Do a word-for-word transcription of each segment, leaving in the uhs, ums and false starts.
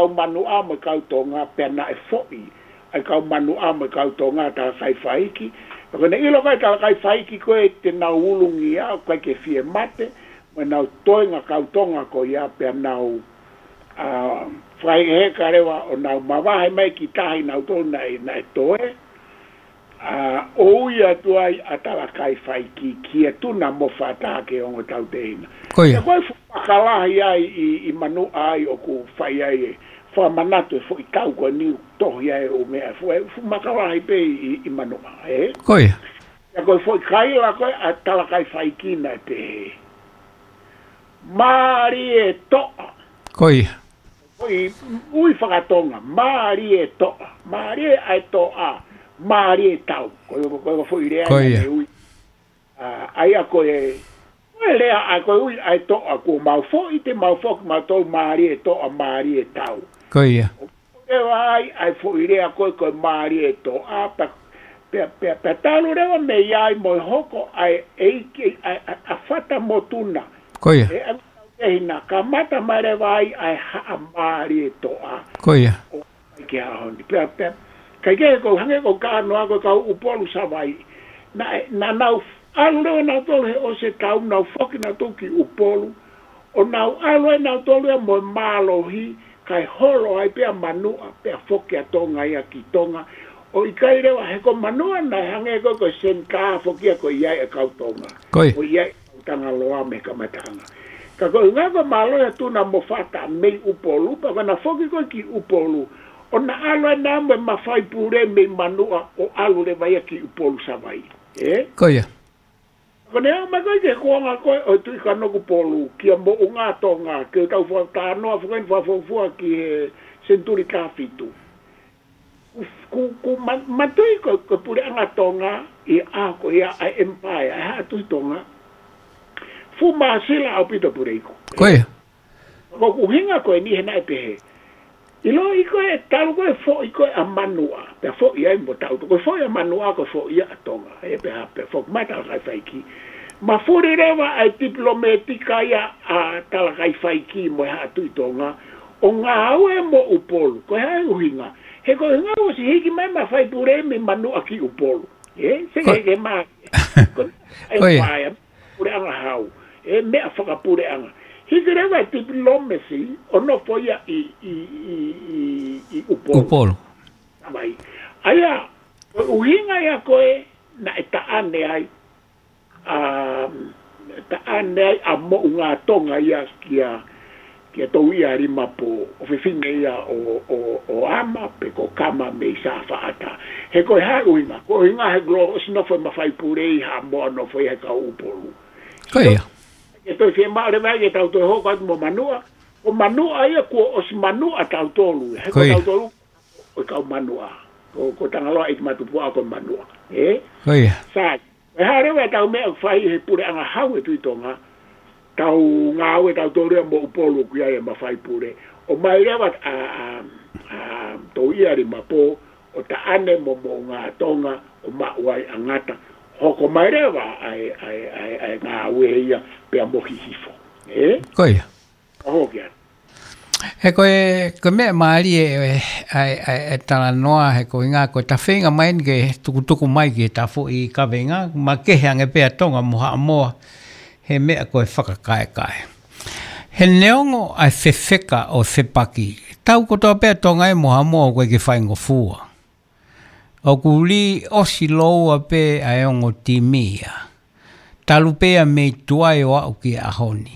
kau Manuʻa mo e kau Tonga, pea naʻe foʻi ʻa e kau Manuʻa mo e kau Tonga, Talakaifaiki. Pea ko ʻene ʻilo ko ē Talakaifaiki ko ē te nau ulungia, ʻoku ʻikai ke fie mate, mo ʻenau toenga kau Tonga ko ia, pea nau, ā, fai heka leva ʻo nau mavahe mai ki tahi nautolu naʻe, naʻe toe. Ā, ʻo ui atu ai ʻa Talakaifaiki ki he Tuna mo Fata ke ongo tauteina. Ko ia. Pea ko e fuʻu maka lahi ai ʻi, ʻi Manuʻa ai ʻoku fai ai e fakamanatu e foʻi tau ko eni ʻoku tohi ai e ʻū meʻa. Fuʻu, fuʻu maka lahi pē ʻi, ʻi Manuʻa, ē? Ko ia. Pea ko e foʻi kaila ko ē ʻa Talakaifaiki naʻe pehē: Mālie toʻa. Ko ia. Foʻi ui fakatonga, mālie toʻa, mālie ʻa e toʻa, mālie tau. Ko e, ko e, ko e foʻi lea Ko ia. naʻe ui. Ā, ʻa ia ko e, ko e lea ʻa e, ko e ui ʻa e toʻa, kuo mau foʻi, te mau foki mautolu, mālie toʻa, mālie tau. Ko ia. ʻO leva ai ʻa e foʻi lea ko ē, ko e mālie toʻa, pea, pea, pea, pea talu leva mei ai mo e hoko ʻa e ʻeiki, ʻa, ʻa, ʻa Fata mo Tuna. Ko ia. ʻE, ʻa, ʻe hina, kamata mai leva ai ʻa e Haʻa Mālie Toʻa. Ko ia. ʻO mai ki he ʻaho ni. Pea, pea, kae kehe ʻoku hangē ko e kānoa ko e kau ʻUpolu Savaiʻi. Naʻe, naʻa nau ʻalu leva nautolu he ʻosi e tau, nau foki nautolu ki ʻUpolu. ʻO nau ʻalu ai nautolu ia mo e mālohi, kae holo ai pea Manuʻa, pea foki ʻa Tonga ia ki Tonga. ʻO ʻikai leva, he ko Manuʻa naʻe hangē ko e, ko e senitā foki ia ko ia ʻa e kau Tonga. Ko ia. Ko ia ʻa e kau Tangaloa mei he kamataʻanga. Ka ko e ʻuhinga ko e mālohi ʻa Tuna mo Fata mei ʻUpolu, pea ko ʻena foki ko ē ki ʻUpolu, ʻo na ʻalu ai nautolu mo e mafai pule mei Manuʻa ʻo ʻalu leva ia ki ʻUpolu Savaiʻi. Ē? Ko ia. Ko ʻene aʻu mai ko ē ki he kuonga ko ē ʻo e Tuʻi Kanokupolu, kia Moʻungatonga, ke tau fakatalanoa foki eni fakafuofua ki he senituli taha fitu. Ku, ku, ku ma-, mātuʻaki ko, ko e puleʻanga Tonga ʻi he ʻaho ko ia ʻa e Empire, ʻa e Haʻa Tuʻi Tonga. Fuʻu māsila ʻaupito Puleiku. Ko ia. Ko ʻeku ʻuhinga ko eni he naʻe pehē. ʻIloʻi ko ē, talu ko ē foʻi ko ē ʻa Manuʻa, pea foʻi ai mo tautolu. Ko e foʻi ʻa Manuʻa, ko e foʻi ia ʻa Tonga. ʻE pehē, pea foki mai Talakaifaiki. Mafuli leva ʻa e tipilōmētika ia ʻa Talakaifaiki mo e Haʻa Tuʻi Tonga ʻo ngāue mo ʻUpolu. Ko e hā e ʻuhinga? He ko e ʻuhinga ʻosi hiki mai mafai pule mei Manuʻa ki ʻUpolu. Ē, se Ko ke, ke mā. Ko, Ko ia. ʻe, puleʻanga hau. ʻE meʻa fakapuleʻanga. Hiki leva e tipilōmesi ʻo nofo ia ʻi, ʻi, ʻi, ʻi, ʻi ʻUpolu. ʻUpolu. Mai. ʻA ia, ko e ʻuhinga ia ko ē naʻe taʻane ai, ā, taʻane ai ʻa Moʻungatonga ia kia, kia Touialimapō, ʻofefine ia ʻo, ʻo, ʻo Ama pe ko Kama mei Safaʻata. He ko e hā e ʻuhinga, ko e ʻuhinga he kuo ʻosi nofo e mafai pule ʻi Haʻamoa, nofo ia he kau ʻUpolu. Ko ia. Ke toe fiemaʻu leva ke tau toe hoko atu mo Manuʻa. Ko Manuʻa ia kuo ʻosi Manuʻa tautolu. He Ko ko ia. tautolu ʻo e kau Manuʻa. Ko, ko Tangaloa ʻEiki Matupuaʻa ko Manuʻa. Ē? Ko ia. Sai. Ko e hā leva ʻetau meʻa ʻoku fai he puleʻanga hau e Tuʻi Tonga, tau ngāue tautolu ia mo ʻUpolu ʻoku ʻi ai e mafai pule. ʻOmai leva ʻa, ʻa, ʻa Touialimapō ʻo taʻane mo Moʻungatonga ʻo maʻu ai ʻa Ngata. Hoko mai leva ʻa e, ʻa e, ʻa e, ʻa e ngāue ia pea mo Hihifo. Ē? Ko ia. ʻA hoki atu. He ko e, ko e meʻa mālie ʻe, ʻa e, ʻa e, ʻa e talanoa, he ko e ʻuhinga ko e ta feinga mai eni ke tukutuku mai ki he ta foʻi kaveinga, makehe ange pē ʻa Tonga mo Haʻamoa, he meʻa ko e fakakaekae. He neongo ʻa e fefeka ʻo e fepaki, tau kotoa pē ʻa Tonga ia mo Haʻamoa ʻoku ʻikai ke faingofua. ʻOku lī ʻosi lōua pē ʻa e ongo timi ia. Talu pē ia mei tuai ʻo aʻu ki he ʻaho ni.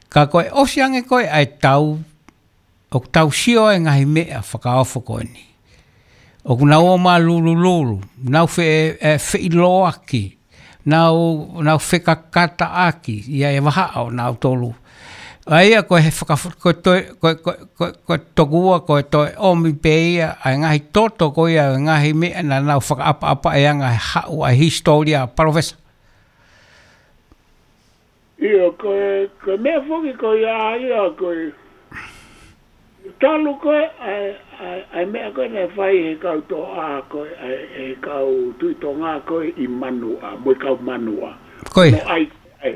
Ka ko e ʻosi ange ko ē ʻa e tau, ʻoku tau sio ai e ngaahi meʻa fakaofo ko eni. ʻOku nau ō mālulululu, nau fe-, ʻe, feʻiloaki, nau, nau fekakataʻaki, ʻi ai e vahaʻa ʻo nautolu. ʻA ia ko e he faka-, ko e toe, ko e, ko e, ko e, ko e toku ua, ko e toe ʻomi pē ia, ʻa e ngaahi toto ko ia, ʻa e ngaahi meʻa naʻa nau fakaʻapaʻapaʻi anga he haʻu ʻa e hisitōlia, Palōfesa. ʻIo, ko e, ko e meʻa foki ko ia, ia ko e, talu ko ē, ʻa e, ʻa e, ʻa e meʻa ko ē naʻe fai he kau Toʻa ko ē, ʻa e, he kau Tuʻi Tonga ko ē ʻi Manuʻa, mo e kau Manuʻa. Ko ia. Mo ʻai, ʻai,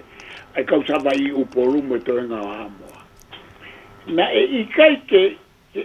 ʻai kau Savaiʻi ʻi ʻUpolu mo e toenga ʻo Haʻamoa. Naʻe ʻikai ke,